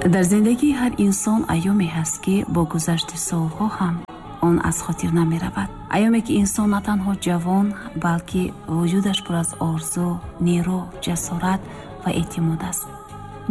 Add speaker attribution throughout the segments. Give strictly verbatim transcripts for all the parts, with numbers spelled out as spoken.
Speaker 1: Дар зиндагии ҳар инсон айёме ҳаст, ки бо гузашти солҳо ҳам он аз хотир намеравад. Айёме ки инсон на танҳо ҷавон, балки вуҷудаш пур аз орзу, нерӯ, ҷасорат ва эътимод аст.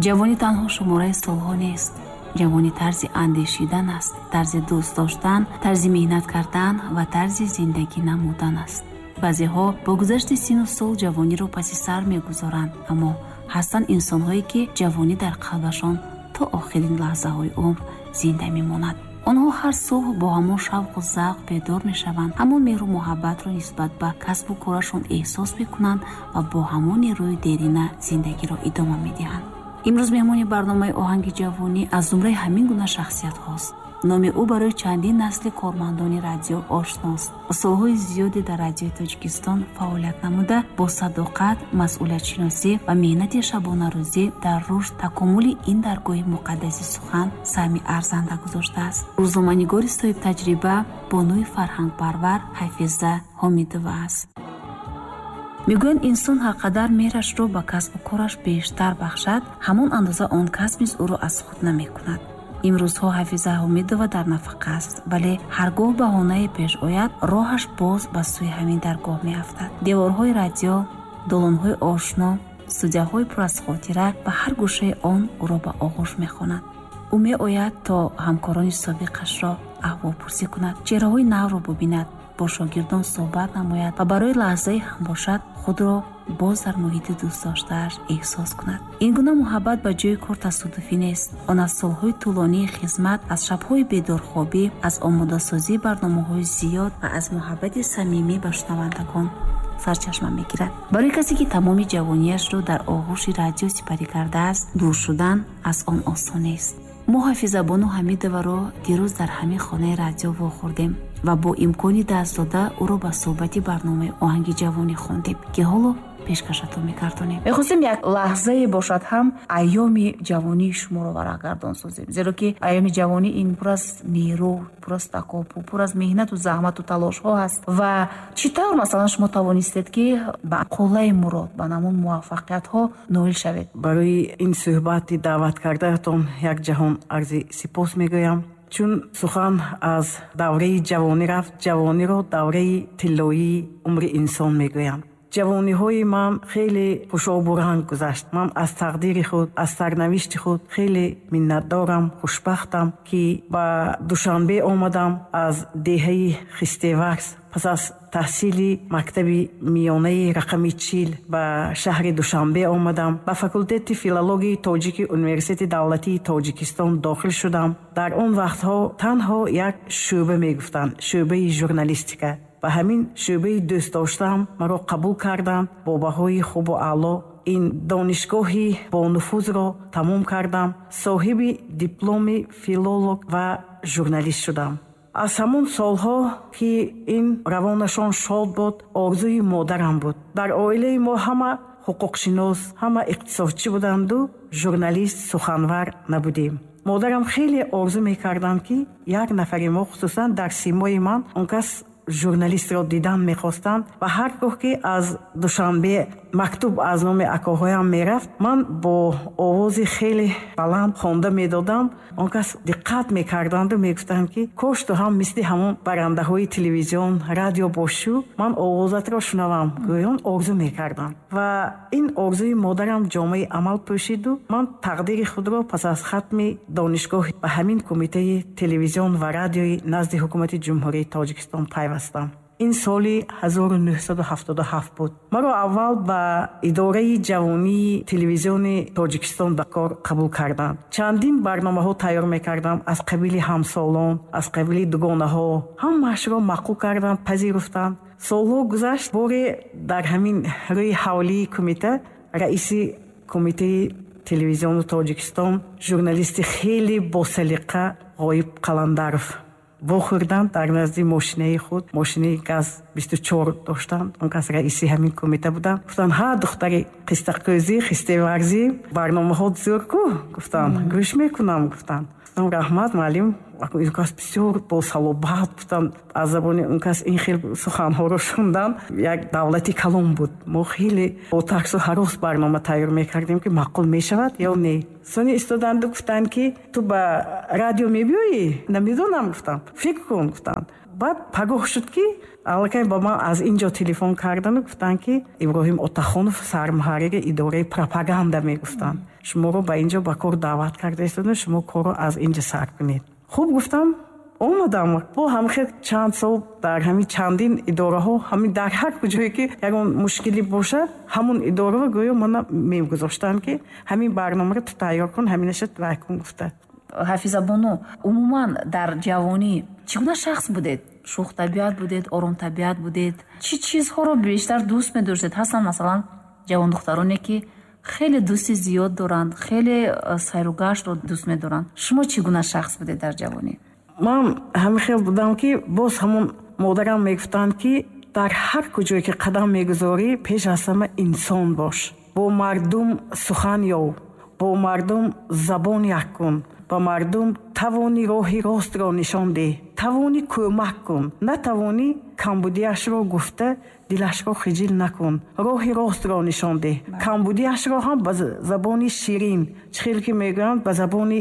Speaker 1: Ҷавонӣ танҳо шумораи солҳо нест. Ҷавонӣ тарзи андешидан аст, тарзи дӯст доштан, тарзи меҳнат кардан ва тарзи зиндагӣ намудан аст. Баъзеҳо бо гузашти сину сол ҷавониро паси сар мегузоранд, аммо ҳастанд инсонҳое, ки ҷавонӣ дар қалбашон то охирин лаҳзаҳои умр зинда мемонад. Онҳо ҳар субҳ бо ҳамон шавқу завқ бедор мешаванд, ҳамон меҳру муҳаббатро нисбат ба касбу корашон эҳсос мекунанд ва бо ҳамон нерӯи дерина зиндагиро идома медиҳанд. Имрӯз меҳмони барномаи «Оҳанги ҷавонӣ» аз зумраи ҳамин гуна шахсиятҳост. Номи ӯ барои чандин насли кормандони радио ошност. Солҳои зиёде дар Радиои Тоҷикистон фаъолият намуда, бо садоқат, масъулиятшиносӣ ва меҳнати шабонарӯзӣ дар рушд такомули ин даргоҳи муқаддаси сухан саҳми арзанда гузоштааст. Рӯзноманигори соҳибтаҷриба, бонуи фарҳангпарвар Ҳафиза Ҳомидова аст. Мегӯянд, инсон ҳар қадар меҳрашро ба касбу кораш бештар бахшад, ҳамон андоза он касб низ ӯро аз худ намекунад. Имрӯзҳо Ҳафиза Ҳомидова дар нафақа аст, вале ҳар гоҳ баҳонае пеш ояд, роҳаш боз ба сӯи ҳамин даргоҳ меафтад. Деворҳои радио, долонҳои ошно, студияҳои пур аз хотира ва ҳар гӯшаи он ӯро ба оғӯш мехонад. Ӯ меояд, то ҳамкорони собиқашро аҳволпурсӣ кунад, чеҳраҳои навро бубинад, бо шогирдон суҳбат намояд ва барои лаҳзае ҳам бошад, худро боз дар муҳити дӯстдоштааш эҳсос кунад. Ин гуна муҳаббат ба ҷои кор тасодуфӣ нест. Он аз солҳои тӯлонии хизмат, аз шабҳои бедорхобӣ, аз омодасозии барномаҳои зиёд ва аз муҳаббати самимӣ ба шунавандагон сарчашма мегирад. Барои касе, ки тамоми ҷавониашро дар оғӯши радио сипарӣ кардааст, дур шудан аз он осон нест. Мо Ҳафизабону Ҳамидоваро дирӯз дар ҳамин хонаи радио вохӯрдем ва бо имкони даст дода ӯро ба суҳбати барномаи «Оҳанги ҷавонӣ» хондем, ки ҳоло пешкашатон мегардонем.
Speaker 2: Мехостем як лаҳзае бошад ҳам айёми ҷавонии шуморо варақгардон созем, зеро ки айёми ҷавонӣ ин пур аз нерӯ, пур аз такопӯ, пур аз меҳнату заҳмату талошҳо ҳаст. Ва чӣ тавр, масалан, шумо тавонистед, ки ба қуллаи мурод, ба ҳамон муваффақиятҳо ноил шавед?
Speaker 3: Барои ин суҳбати даъват кардаатон як ҷаҳон арзи сипос мегӯям. Чун сухан аз давраи ҷавонӣ рафт, ҷавониро давраи тиллоии умри инсон мегӯянд. Ҷавониҳои ман хеле хушобуранг гузашт. Ман аз тақдири худ, аз сарнавишти худ хеле миннатдорам, хушбахтам, ки ба Душанбе омадам аз деҳаи Хистеварз. Пас аз таҳсили мактаби миёнаи рақами чил ба шаҳри Душанбе омадам, ба факултети филологияи тоҷики Университети давлатии Тоҷикистон дохил шудам. Дар он вақтҳо танҳо як шӯъба мегуфтанд, шӯъбаи журналистика. Ба ҳамин шӯъбаи дӯст доштаам маро қабул карданд бо баҳои хубу аъло. Ин донишгоҳи бонуфузро тамом кардам, соҳиби дипломи филолог ва журналист шудам. Аз ҳамон солҳо, ки ин равонашон шод буд, орзуи модарам буд. Дар оилаи мо ҳама ҳуқуқшинос, ҳама иқтисодчӣ буданду журналист, суханвар набудем. Модарам хеле орзу мекарданд, ки як нафари мо, хусусан дар симои ман, он кас журналистро дидан мехостанд. Ва ҳар гоҳ ки аз Душанбе мактуб аз номи акоҳоям мерафт, ман бо овози хеле баланд хонда медодам. Он кас диққат мекарданду мегуфтанд, ки кош ту ҳам мисли ҳамон барандаҳои телевизион, радио бошу, ман овозатро шунавам, гӯён орзу мекардам. Ва ин орзуи модарам ҷомаи амал пӯшиду ман тақдири худро пас аз хатми донишгоҳ ба ҳамин Кумитаи телевизион ва радиои назди Ҳукумати Ҷумҳурии Тоҷикистон пайвастам. Ин соли ҳазору нӯҳсаду ҳафтоду ҳафт буд. Маро аввал ба идораи ҷавонии Телевизиони Тоҷикистон ба кор қабул карданд. Чандин барномаҳо тайёр мекардам, аз қабили «Ҳамсолон», аз қабили «Дугонаҳо». Ҳамаашро маъқул карданд, пазируфтанд. Солҳо гузашт. Боре дар ҳамин рӯи ҳавлии кумита раиси Кумитаи телевизиони Тоҷикистон, журналисти хеле босалиқа Ғоиб Қаландаров вохӯрданд дар назди мошинаи худ. Мошинаи ГАЗ бисту чор доштанд, он кас раиси ҳамин кумита буданд. Гуфтанд: «Ҳа, духтари қистақӯзӣ, хистеварзӣ, барномаҳо зӯр ку», гуфтанд, «гӯш мекунам», гуфтанд. Гуфтам: «Раҳмат, муаллим». Ин кас бисёр босалобат гуфтанд. Аз забони он кас ин хел суханҳоро шундан як давлати калон буд. Мо хеле бо тарсу ҳарос барнома тайёр мекардем, ки маъқул мешавад ё не. Сони истоданду гуфтанд, ки ту ба радио мебиёӣ? Намедонам, гуфтам. Фикр кун, гуфтанд. Баъд пагоҳ шуд, ки аллакай ба ман аз ин ҷо телефон кардану гуфтанд, ки Иброҳим Отахонов, сармуҳаррири идораи пропаганда, мегуфтанд, шуморо ба ин ҷо ба кор даъват карда истода, шумо корро аз ин ҷо сар кунед. Хуб, гуфтам, омадам. Бо ҳамхел чанд сол дар ҳамин чандин идораҳо, ҳамин дар ҳар куҷое ки ягон мушкилӣ бошад, ҳамун идораро гӯё мана мегузоштанд, ки ҳамин барномаро ту тайёр кун, ҳаминаша вай кун, гуфта.
Speaker 2: Ҳафизабону, умуман дар ҷавонӣ чӣ гуна шахс будед? Шӯхтабиат будед, оромтабиат будед? Чӣ чизҳоро бештар дӯст медоштед? Ҳастанд, масалан, ҷавондухтароне, ки хеле дӯсти зиёд доранд, хеле э, сайругаштро дӯст медоранд. Шумо чӣ гуна шахс будед дар ҷавонӣ?
Speaker 3: Ман ҳамин хел будам, ки боз ҳамон модарам мегуфтанд, ки дар ҳар куҷое ки қадам мегузорӣ, пеш аз ҳама инсон бош, бо мардум сухан ёв, бо мардум забон як кун, ба мардум тавони роҳи ростро нишон деҳ, тавонӣ кӯмак кун, натавонӣ камбудиашро гуфта дилашро хиҷил накун, роҳи ростро нишон деҳ, камбудиашро ҳам ба забони ширин. Чӣ хел ки мегӯянд, ба забони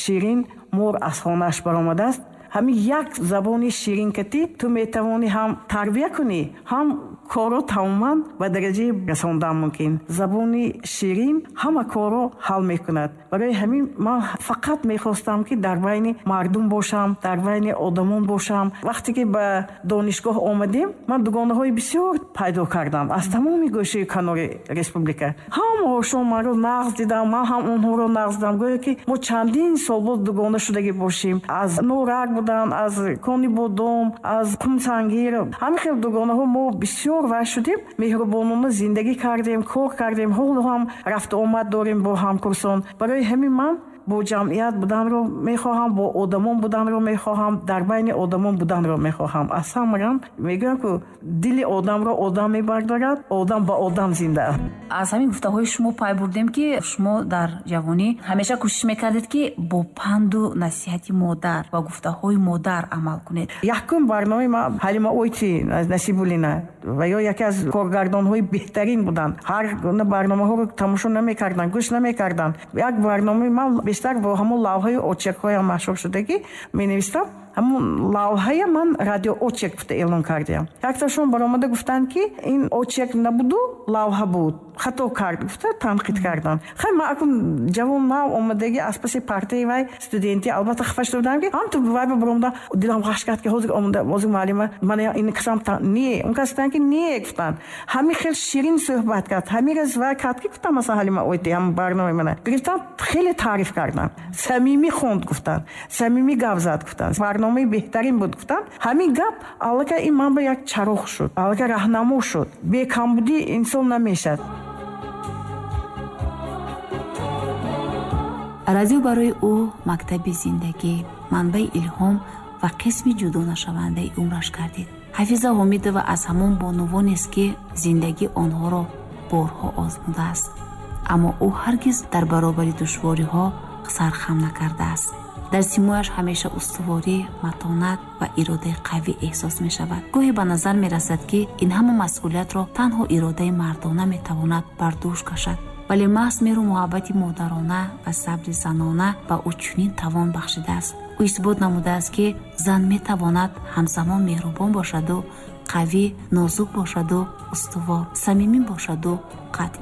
Speaker 3: ширин мор аз хонааш баромадааст. Ҳамин як забони ширин кати ту метавонӣ ҳам тарбия кунӣ, ҳам корро тамоман ба дараҷаи расондан мумкин. Забони ширин ҳама корро ҳал мекунад. Барои ҳамин ман фақат мехостам, ки дар байни мардум бошам, дар байни одамон бошам. Вақте ки ба донишгоҳ омадем, ман дугонаҳои бисёр пайдо кардам аз тамоми гӯшаи канори республика. Ҳамаҳошон манро нағз дидам, ман ҳам онҳоро нағз дидам, гӯё ки мо чандин сол боз дугона шудагӣ бошем. Аз Норак буданд, аз Конибодом, аз Қумсангир, ҳамин хел дугонаҳо. Мо бисёр вай шудем, меҳрубонона зиндагӣ кардем, кор кардем, ҳоло ҳам рафту омад дорем бо ҳамкурсон. Барои ҳамин ман бо ҷамъият буданро мехоҳам, бо одамон буданро мехоҳам, дар байни одамон буданро мехоҳам. Аз ҳамарам мегӯям, ку дили одамро одам мебардорад, одам ба одам зинда.
Speaker 2: Аз ҳамин гуфтаҳои шумо пай бурдем, ки шумо дар ҷавонӣ ҳамеша кӯшиш мекардед, ки бо панду насиҳати модар ва гуфтаҳои модар амал кунед.
Speaker 3: Якум барномаи ма Ҳалима Ойти Насибуллина ва ё яке аз коргардонҳои беҳтарин буданд. Ҳар гуна барномаҳоро тамошо намекарданд, гӯш намекарданд. Як барномаи ман бештар бо ҳамон лавҳаи очеркҳоям машҳур шудагӣ менавистам. Ҳамон лавҳая ман радио очерк гуфта эълон кардиям. Якташон баромада гуфтанд, ки ин очерк набуду, лавҳа буд, хато кард, гуфта танқид карданд. Хай, ман акун ҷавон, нав омадагӣ, аз паси партаи вай студентӣ, албатта хафа шуда будам, ки ҳам ту вай ба баромада дилам ғаш кард, ки ҳозир омада ҳозир муаллима мана ин касам не, он кас гуфтанд, ки не, гуфтанд. Ҳамин хел ширин суҳбат кард, ҳамин рӯз вай кард, ки гуфтам, масалан, Ҳалима Ойти ҳамон барномаи мана гирифтан, хеле таъриф карданд, самимӣ хонд, гуфтанд, самимӣ гап зад, гуфтанд, барномаи беҳтарин буд, гуфтанд. Ҳамин гап аллакай ин ман ба як чароғ шуд, аллакай раҳнамо шуд. Бекамбудӣ инсон намешад.
Speaker 1: Радио барои ӯ мактаби зиндагӣ, манбаи илҳом ва қисми ҷудонашавандаи умраш гардид. Ҳафиза Ҳомидова аз ҳамон бонувонест, ки зиндагӣ онҳоро борҳо озмудааст, аммо ӯ ҳаргиз дар баробари душвориҳо сархам накардааст. Дар симояш ҳамеша устуворӣ, матонат ва иродаи қавӣ эҳсос мешавад. Гоҳе ба назар мерасад, ки ин ҳама масъулиятро танҳо иродаи мардона метавонад бар дӯш кашад, вале маҳз меҳру муҳаббати модарона ва сабри занона ба ӯ чунин тавон бахшидааст. Ӯ исбот намудааст, ки зан метавонад ҳамзамон меҳрубон бошаду қавӣ, нозук бошаду устувор, самимӣ бошаду қатъӣ.